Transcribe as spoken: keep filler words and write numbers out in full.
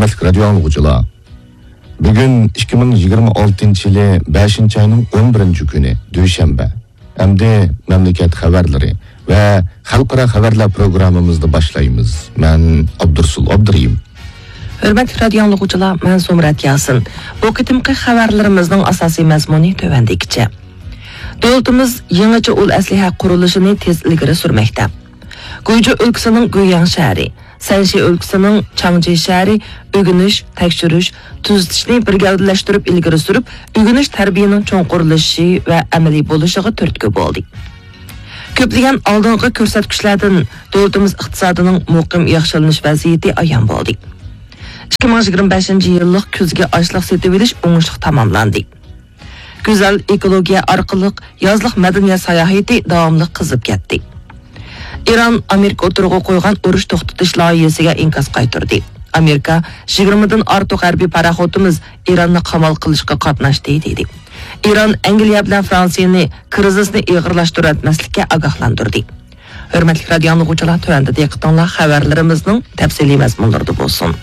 ھۆرمەتلىك رادىيو ئاڭلىغۇچىلار، بۈگۈن ئىككى مىڭ يىگىرمە ئالتىنچى يىلى بەشىنچى ئاينىڭ ئون بىرىنچى كۈنى، دۈشەنبە. ئەمدى مەملىكەت خەۋەرلىرى ۋە خەلقئارا خەۋەرلەر پروگراممىمىزنى باشلايمىز. مەن ئابدۇرسۇل ئابدۇرېھىم. ھۆرمەتلىك رادىيو ئاڭلىغۇچىلار، مەن زۇمرەت ياسىن. بۇ قېتىمقى خەۋەرلىرىمىزنىڭ ئاساسىي مەزمۇنى تۆۋەندىكىچە. دۆلىتىمىز يېڭىچە ئۇل ئەسلىھە قۇرۇلۇشىنى تېز ئىلگىرى سۈرمەكتە. گۇيجۇ ئۆلكىسىنىڭ گۇيياڭ شەھىرى، سەنشى ئۆلكىسىنىڭ چاڭجى شەھىرى ئۆگىنىش، تەكشۈرۈش، تۈزىتىشنى بىر گەۋدىلەشتۈرۈپ ئىلگىرى سۈرۈپ، ئۆگىنىش تەربىيەنىڭ چوڭقۇرلىشىشى ۋە ئەمەلىي بولۇشىغا تۈرتكە بولدى. كۆپلىگەن ئالدىنقى كۆرسەتكۈچلەردىن دۆلىتىمىز ئىقتىسادىنىڭ مۇقىم ياخشىلىنىش ۋەزىيىتى ئايان بولدى. ئىككى مىڭ يىگىرمە بەشىنچى يىللىق كۈزگى ئاشلىق سېتىۋېلىش ئوڭۇشلۇق تاماملاندى. گۈزەل ئېكولوگىيە ئارقىلىق يازلىق مەدەنىيەت ساياھىتى داۋاملىق قىزىپ كەتتى. ئىران ئامېرىكا ئوتتۇرىغا قويغان ئۇرۇش توختىتىش لايىھىسىگە ئىنكاس قايتۇردى. ئامېرىكا، «يىگىرمىدىن ئارتۇق ھەربىي پاراخوتىمىز ئىراننى قامال قىلىشقا قاتناشتى» دېدى. ئىران ئەنگلىيە بىلەن فرانسىيەنى كىرىزىسنى ئېغىرلاشتۇرۇۋەتمەسلىككە ئاگاھلاندۇردى. ھۆرمەتلىك رادىيو ئاڭلىغۇچىلار، تۆۋەندە دىققىتىڭلار خەۋەرلىرىمىزنىڭ تەپسىلىي مەزمۇنلىرىدا بولسۇن.